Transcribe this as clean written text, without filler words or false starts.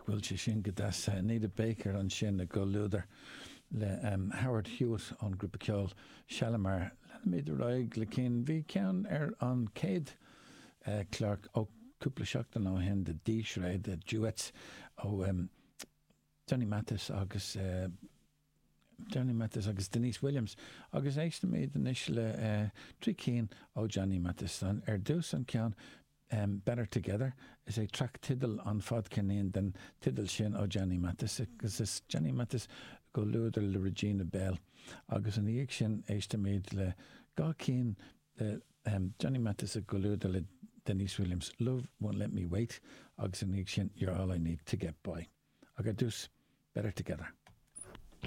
bhfuil sé sin go deas? Anita Baker ansin i gcomhluadar le Howard Hewitt ón grúpa ceoil Shalamar. Leanfaimid ar aghaidh le cinn. Bhí ceann ar an chéad chlár ó cúpla seachtain ó shin de dísré de duets ó Johnny Mathis agus Johnny Mathis agus Deniece Williams agus éistfimid anois le trí cinn ó Johnny Mathis. Ar dtús an ceann Better Together, is é traic teideal an fadcheirnín den teideal sin ó Johnny Mathis agus is Johnny Mathis i gcomhluadar le Regina Belle agus ina dhiaidh sin éistfimid le dhá cinn de Johnny Mathis i gcomhluadar le Deniece Williams, Love Won't Let Me Wait agus ina dhiaidh sin You're All I Need To Get By. Ach ar dtús, Better Together.